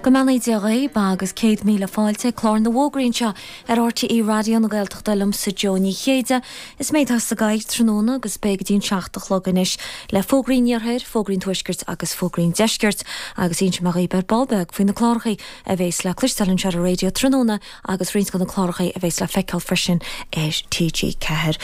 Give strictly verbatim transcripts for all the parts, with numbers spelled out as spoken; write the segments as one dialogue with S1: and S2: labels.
S1: Go mbeannaí Dia dhaoibh agus céad míle fáilte ag clár na bhfógraí anseo ar RTÉ Raidió na Gaeltachta liomsa Joe Ní Chéide. Is mé atá sa gcathaoir tráthnóna agus beidh go dtí an seacht a chlog anois le fógraí an iarthair, fógraí an tuaiscirt agus fógraí an deiscirt agus inseoidh mé dhaoibh ar ball beag faoi na cláracha a bhéas le cloisteáil anseo ar an raidió tráthnóna agus roinnt de na cláracha a bhéas le feiceáil freisin ar TG Ceathair.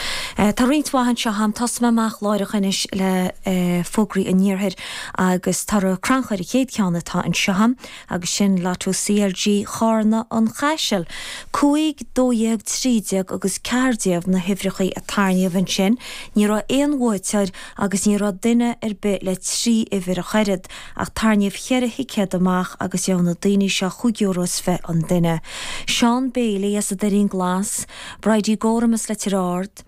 S1: Tá roinnt mhaith anseo agam tosóidh mé amach láithreach anois le fógraí an iarthair agus Toradh Crannchuir an chéad cheann atá anseo agam agus sin Lotto CLG Charna an Chaisil. Cúig, dó dhéag, trí déag agus ceathair déag na huimhreacha a tarraingíodh ansin. Ní raibh aon bhuaiteoir agus ní raibh duine ar bith le trí uimhir ach oiread, ach tarraingíodh cheithre thicéad amach agus gheobhaidh na daoine seo chúig euro is fiche an duine. Seán Bailey as an Doirín Glas, Bridie Gorham as Leitir Ard,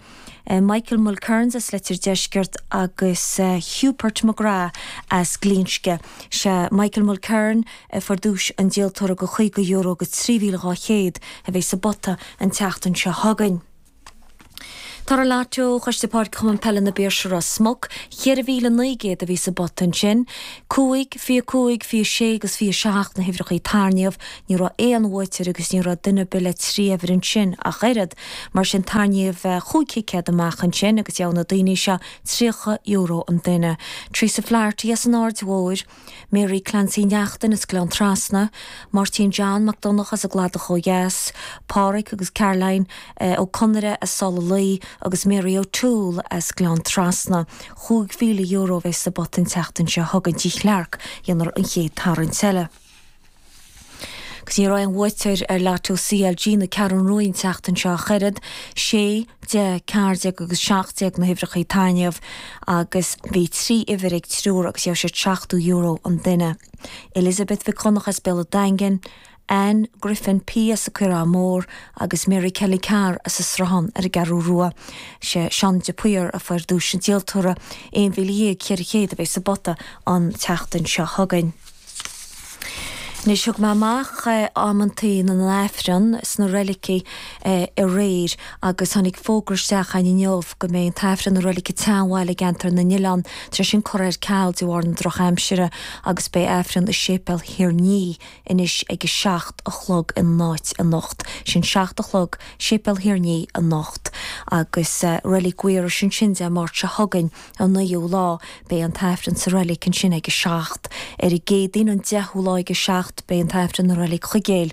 S1: Michael Mulkerns as Leitir Deiscirt agus Hubert McGrath as Glinsce. Sé Michael Mulkern a fuair duais an díoltóra go chaoga euro agus trí mhíle dhá chéad a bheidh sa bpota an tseachtain seo chugainn. Toradh Lotto Choiste Páirce Chumann Peile na bPiarsaigh Ros Muc, cheithre mhíle naoi gcéad a bhí sa bpota ansin, cúig, fiche cúig, fiche sé agus fiche seacht na huimhreacha a tarraingíodh, ní raibh aon bhuaiteoir agus ní raibh duine ar bith le trí uimhir ansin ach oiread. Mar sin tarraingíodh chúig thicéad amach ansin agus gheobhaidh na daoine seo tríocha euro an duine. Teresa Flaherty as an Aird Mhóir, Mary Clancy Neachtain as Gleann Trasna, Máirtín John Mac Donncha as an gCladach ó dheas, Pádraig agus Caroline Ó Conaire as Sála Luí agus Mary O'Toole as Gleann Trasna. Chúig mhíle euro a bheidh sa bpota an tseachtain seo chugainn Tigh Chlarke, dhéanfar an chéad tarraingt eile. Agus ní raibh aon bhuaiteoir ar Lotto CLG na Ceathrún Rua an tseachtain seo ach oiread, sé, deich, ceathair déag agus seacht déag na huimhreacha a tarraingíodh agus bhí trí uimhir ag triúr agus gheobhaidh siad seachtó euro an duine. Elizabeth Mhic Dhonncha as Béal an Daingin, Anne Griffin P as an Coireán Mór agus Mary Kelly Carr as an Sruthán ar an gCeathrú Rua. Sé Seán de Paor a fuair duais an díoltóra, aon mhíle dhéag ceithre chéad a bheidh sa bpota an tseachtain seo chugainn. Anois thug mé amach amantaí na n-aifreann sna reilicí aréir agus tháinig fógra isteach againn inniu go mbeidh an t-aifreann i reilig an tSeanbhaile i gceantar na nOileán tar éis sin curtha ar ceal de bharr na drochaimsire agus beidh aifreann i séipéal Thír an Fhia anois ag a seacht a chlog ina áit anocht. Sin seacht a chlog, séipéal Thír an Fhia anocht agus reilig Mhaorais ansin Dé Máirt seo chugainn an naoú lá. Beidh an t-aifreann sa reilig ansin ag a seacht. Ar an gCéadaoin an deichiú lá ag a seacht beidh an t-aifreann i reilig Chuigéil.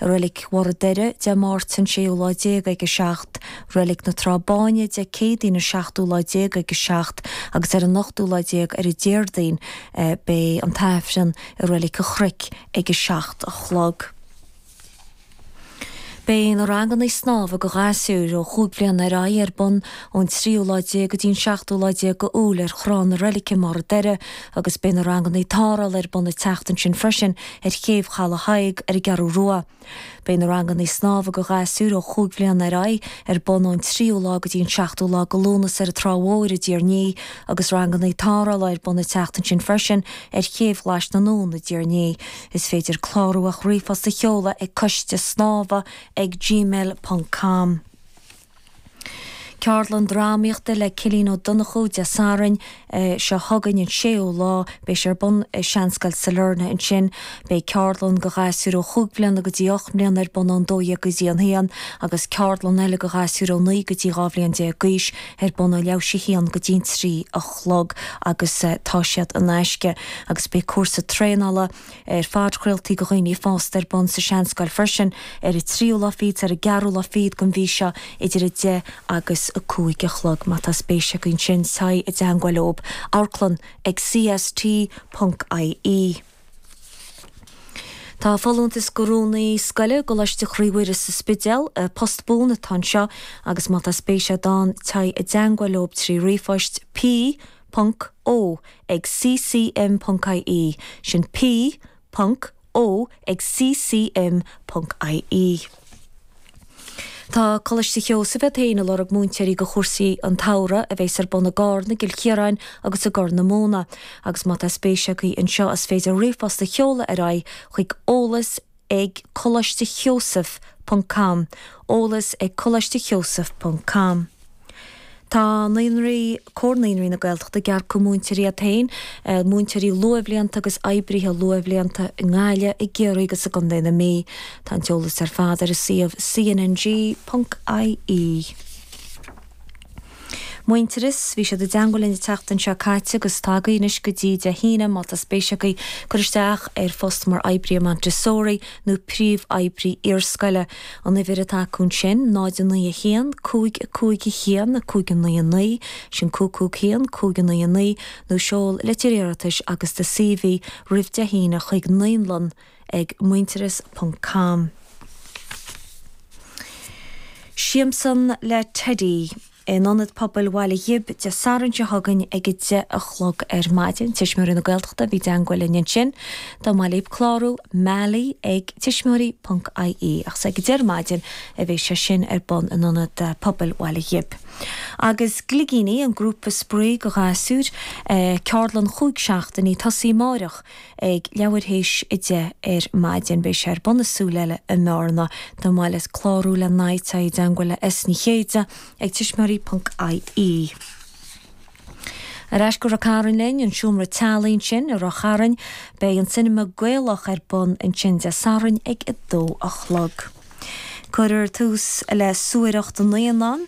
S1: I reilig Bharr an Doire Dé Máirt an séú lá déag ag a seacht. Reilig na Trá Báine Dé Céadaoin an seachtú lá déag ag a seacht agus ar an ochtú lá déag ar an Déardaoin beidh an t-aifreann i reilig an Chnoic ag a seacht a chlog. Beidh na ranganna snámha do ghasúir ó chúig bhliana ar aghaidh ar bun ón tríú lá déag go dtí an seachtú lá déag de Iúil ar Thrá na Reilice i mBarr an Doire agus beidh na ranganna tarrthála ar bun an tseachtain sin freisin ar chéibh Chaladh Thaidhg ar an gCeathrú Rua. Beidh na ranganna snámha do ghasúir ó chúig bhliana ar aghaidh ar bun ón tríú lá go dtí an seachtú lá de Lúnasa ar an Trá Mhór i dTír an Fhia agus ranganna tarrthála ar bun an tseachtain sin freisin ar chéibh Ghlais na nDún i dTír an Fhia. Is féidir clárú ach ríomhphost a sheoladh ag coiste snámha ag gmail ponc com. Ceardlann drámaíochta le Cillín Ó Donnchú Dé Sathairn seo chugainn an séú lá. Beidh sé ar bun i Seanscoil Sailearna ansin. Beidh ceardlann do ghasúir ó chúig bhliana go dtí ocht mbliana ar bun ón dó dhéag go dtí an haon agus ceardlann eile do ghasúir ó naoi go dtí dhá bhliain déag d'aois ar bun ó leathuair théis a haon go dtí an trí a chlog agus tá siad in aisce agus beidh cúrsa traenála ar phodchraoltaí do dhaoine fásta ar bun sa Seanscoil freisin ar an tríú lá fichead ar an gceathrú lá fichead den mhí seo idir a deich agus a cúig a chlog. Má tá spéis agaibh ansin, téigh i dteangmháil leob. Amharclann ag cst ponc ie. Tá folúntas do rúnaí scoile i gColáiste Chroí Mhuire sa Spidéal, post buan atá anseo agus má tá spéis agat ann, téigh i dteangmháil leob trí ríomhphost p ponc o ag ccm ponc ie, sin p ponc o ag ccm ponc ie. Tá Coláiste Sheosaimh iad féin ag lorg múinteoirí do chúrsaí an tsamhraidh a bheas ar bun i gCarna, i gCill Chiaráin agus i gCorr na Móna agus má tá spéis agaibh anseo is féidir ríomhphost a sheoladh ar aghaidh chuig eolas ag coláiste sheosaimh ponc com eolas ag coláiste sheosaimh ponc com. Tá naíonraí Comhar Naíonraí na Gaeltachta ag earcú múinteoirí iad féin, eh, múinteoirí luathbhlianta agus oibrithe luathbhlianta i nGaillimh, i gCiarraí agus i gContae na Mí. Tá an t-eolas ar fad ar a suíomh cnng.ie. Muintearas, bhí siad i dteangmháil linn an tseachtain seo caite agus tá agaibh anois go dtí Dé hAoine má tá spéis agaibh cur isteach ar phost mar oibrí Montessori nó príomhoibrí iarscoile. An uimhir atá acu ansin, náid a naoi a haon, cúig a cúig a haon, a cúig a naoi a naoi, sin cúig cúig haon, cúig a naoi a naoi, nó seol litir iarratais agus do CV roimh Dé hAoine chuig naíonlann ag muintearas ponc com. Siamsa le Teidí in Ionad Pobail Bhaile Ghib Dé Sathairn seo chugainn ag a deich a chlog ar maidin. Tuismitheoirí na Gaeltachta a bhí i dteangmháil linn ansin. Dá mba mhaith libh clárú Mally ag tuismitheoirí ponc ie ach is ag a deich ar maidin a bheidh sé sin ar bun in Ionad Pobail Bhaile Ghib. Agus Gligíní, an grúpa spraoi do ghasúir, ceardlann chúig seachtainí tosaí amáireach ag leathuair théis a deich ar maidin. Beidh sé ar bun i Súil Eile i mBearna. Dá mba mhaith leat clárú le n-aghaidh téigh i dteangmháil le S Ní Chéide ag tuismitheoirí ponc ie. Ar ais go Ráth Cairn linn, an seomra teaghlaigh ansin i Ráth Chairn, beidh an Cinema Gaelach ar bun ansin Dé Sathairn ag a dó a chlog. Cuirfear tús le suaireacht na naíonán.